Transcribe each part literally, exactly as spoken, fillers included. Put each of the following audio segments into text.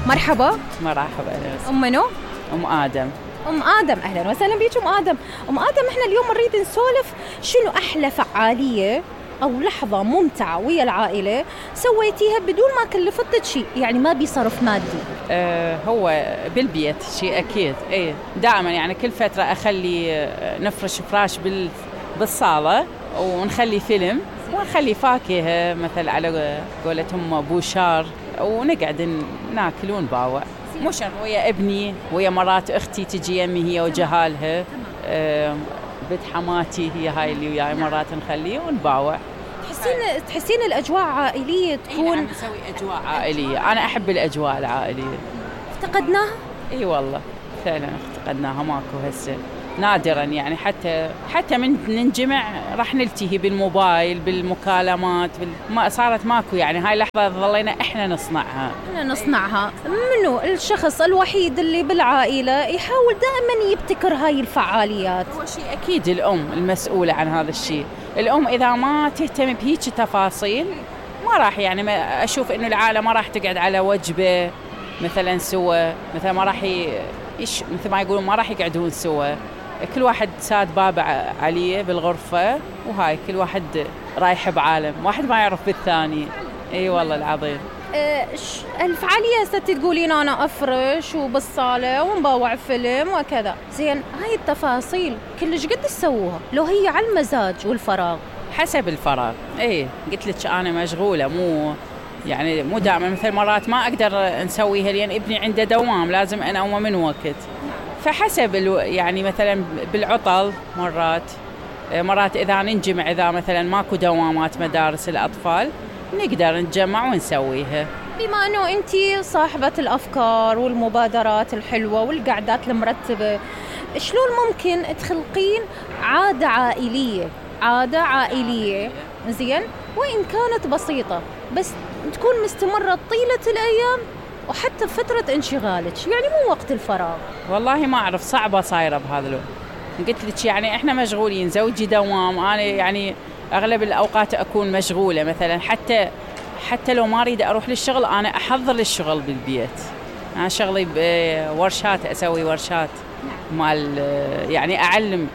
مرحبا. مرحبا. أهلا. أم منو؟ أم آدم. أم آدم، أهلا وسهلا بيك أم آدم. أم آدم، إحنا اليوم نريد نسولف شنو أحلى فعالية أو لحظة ممتعة ويا العائلة سويتيها بدون ما كلفتك شيء، يعني ما بيصرف مادي. أه هو بالبيت شيء أكيد. إيه دائما يعني كل فترة أخلي نفرش فراش بال بالصالة ونخلي فيلم ونخلي فاكهة مثل على قولتهم بوشار ونقعد ناكل ونباوع. مو شرط ويا ابني ويا مرات اختي تجي يمي هي وجهالها، أه بنت حماتي هي هاي اللي وياي مرات نخليه ونباوع. تحسين تحسين الاجواء عائليه تكون؟ إيه نسوي اجواء عائليه، انا احب الاجواء العائليه. افتقدناها؟ اي والله فعلا افتقدناها، ماكو هسه نادرا يعني. حتى حتى من ننجمع راح نلتهي بالموبايل بالمكالمات بال... ما صارت ماكو يعني. هاي اللحظه ظلينا احنا نصنعها احنا نصنعها. منو الشخص الوحيد اللي بالعائله يحاول دائما يبتكر هاي الفعاليات؟ هو شيء اكيد الام المسؤوله عن هذا الشيء. الام اذا ما تهتم بهيك تفاصيل ما راح يعني ما اشوف انه العائله ما راح تقعد على وجبه مثلا سوا، مثلا ما راح يش مثل ما يقولون ما راح يقعدون سوا، كل واحد ساد باب عليه بالغرفة وهاي كل واحد رايح بعالم، واحد ما يعرف بالثاني. اي والله العظيم. أه الفعالية ستي تقولين انا افرش وبالصالة ونباوع فيلم وكذا، زين هاي التفاصيل كلش قد تسووها لو هي على المزاج والفراغ؟ حسب الفراغ. اي قلت لك انا مشغولة، مو يعني مو دائما. مثل مرات ما اقدر نسويها لان ابني عنده دوام لازم انا اقوم من وقت، فحسب يعني مثلا بالعطل مرات مرات إذا ننجمع، إذا مثلا ماكو دوامات مدارس الأطفال نقدر نتجمع ونسويها. بما أنه أنتي صاحبة الأفكار والمبادرات الحلوة والقعدات المرتبة، شلون ممكن تخلقين عادة عائلية عادة عائلية زين وإن كانت بسيطة بس تكون مستمرة طيلة الأيام وحتى فترة انشغالك، يعني مو وقت الفراغ؟ والله ما أعرف، صعبة صايرة بهذا الوقت. قلت لك يعني إحنا مشغولين، زوجي دوام، أنا يعني أغلب الأوقات أكون مشغولة. مثلا حتى حتى لو ما أريد أروح للشغل أنا أحضر للشغل بالبيت. أنا شغلي بورشات، أسوي ورشات مال يعني أعلم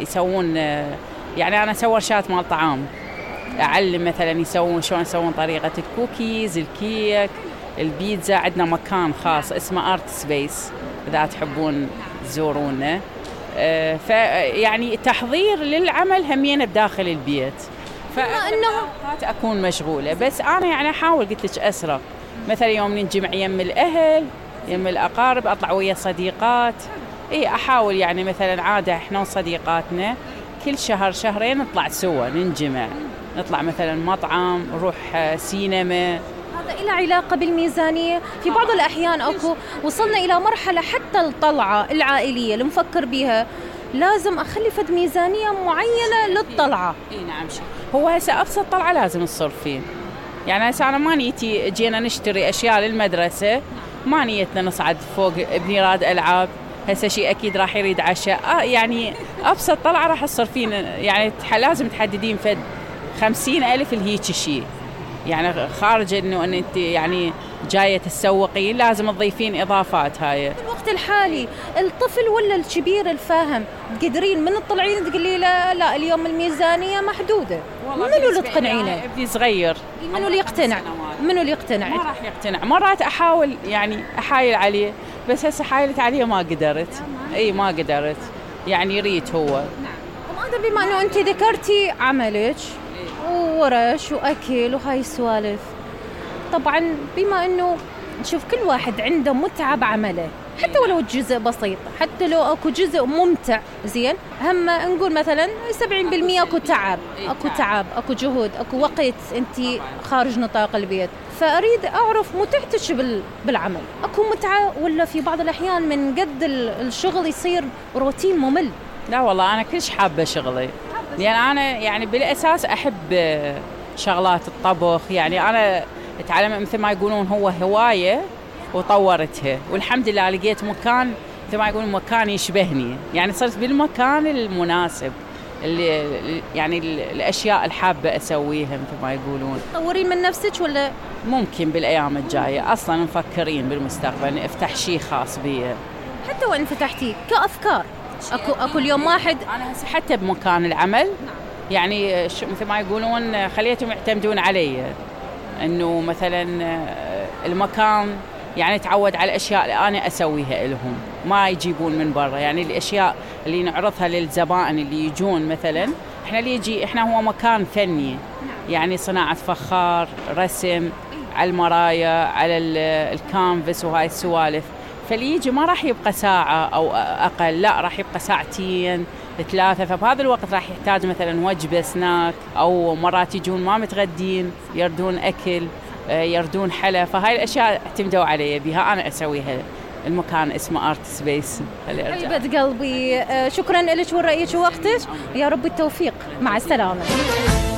يسوون، يعني أنا أسوي ورشات مال طعام، أعلم مثلا يسوون شلون يسوون طريقة الكوكيز، الكيك، البيتزا. عندنا مكان خاص اسمه آرت سبيس إذا تحبون تزورونا. أه فيعني تحضير للعمل همين بداخل البيت، فأوقات أكون مشغولة. بس أنا يعني أحاول قلت لك أسرع، مثلا يوم ننجمع يم الأهل يم الأقارب أطلع ويا صديقات. إيه أحاول يعني مثلا عادة إحنا وصديقاتنا كل شهر شهرين نطلع سوا ننجمع، نطلع مثلا مطعم، نروح سينما. هذا إله علاقة بالميزانية؟ في بعض الأحيان أكو وصلنا إلى مرحلة حتى الطلعة العائلية اللي مفكر بيها لازم أخلي فد ميزانية معينة للطلعة. إيه نعم. شيء هو هسه أبسط طلعة لازم تصرفين. يعني هسه أنا ما نيتي جينا نشتري أشياء للمدرسة، ما نيتنا نصعد فوق ابني راد ألعاب، هسه شيء أكيد راح يريد عشاء. آه يعني أبسط طلعة راح تصرفين يعني لازم تحددين فد خمسين ألف الهيك شيء، يعني خارج إنه أن أنت يعني جاية تسوقين لازم تضيفين إضافات. هاي في الوقت الحالي الطفل ولا الكبير الفاهم تقدرين من الطلعين تقولي لا لا اليوم الميزانية محدودة، منو اللي تقنعينه؟ ابني صغير، منو اللي يقتنع؟ منو اللي يقتنع؟ ما راح يقتنع. مرات أحاول يعني أحايل عليه، بس هسه حايلت عليه ما قدرت. اي ما قدرت يعني يريد هو. نعم. وهذا بما انه انت ذكرتي عملك وورش واكل وهاي السوالف، طبعا بما انه نشوف كل واحد عنده متعة بعمله حتى ولو جزء بسيط، حتى لو اكو جزء ممتع زين، هم نقول مثلا سبعين بالمئة اكو تعب، اكو تعب اكو جهد اكو وقت انت خارج نطاق البيت. فاريد اعرف متعتك بالعمل، اكو متعة ولا في بعض الاحيان من قد الشغل يصير روتين ممل؟ لا والله انا كلش حابة شغلي، يعني انا يعني بالاساس احب شغلات الطبخ. يعني انا اتعلم مثل ما يقولون هو هواية وطورتها، والحمد لله لقيت مكان مثل ما يقولون مكان يشبهني، يعني صرت بالمكان المناسب. اللي يعني الاشياء الحابه اسويها مثل ما يقولون. تطورين من نفسك ولا ممكن بالايام الجايه؟ اصلا مفكرين بالمستقبل افتح شيء خاص بي. حتى وين فتحتي كافكار؟ اكو اكو اليوم واحد انا هسه حتى بمكان العمل يعني مثل ما يقولون خليتهم يعتمدون علي، انه مثلا المكان يعني تعود على الاشياء اللي انا اسويها لهم، ما يجيبون من برا. يعني الاشياء اللي نعرضها للزبائن اللي يجون مثلا، احنا اللي يجي احنا هو مكان فني، يعني صناعه فخار، رسم على المرايا، على الكانفاس وهاي السوالف. فاللي يجي ما راح يبقى ساعه او اقل، لا راح يبقى ساعتين ثلاثه. فبهذا الوقت راح يحتاج مثلا وجبه سناك، او مرات يجون ما متغدين يردون اكل، يردون حلا. فهاي الاشياء اعتمدوا علي بها، انا اسويها. المكان اسمه ارت سبيس. حبيبه قلبي، شكرا لك ورأيك ووقتك، يا رب التوفيق، مع السلامه.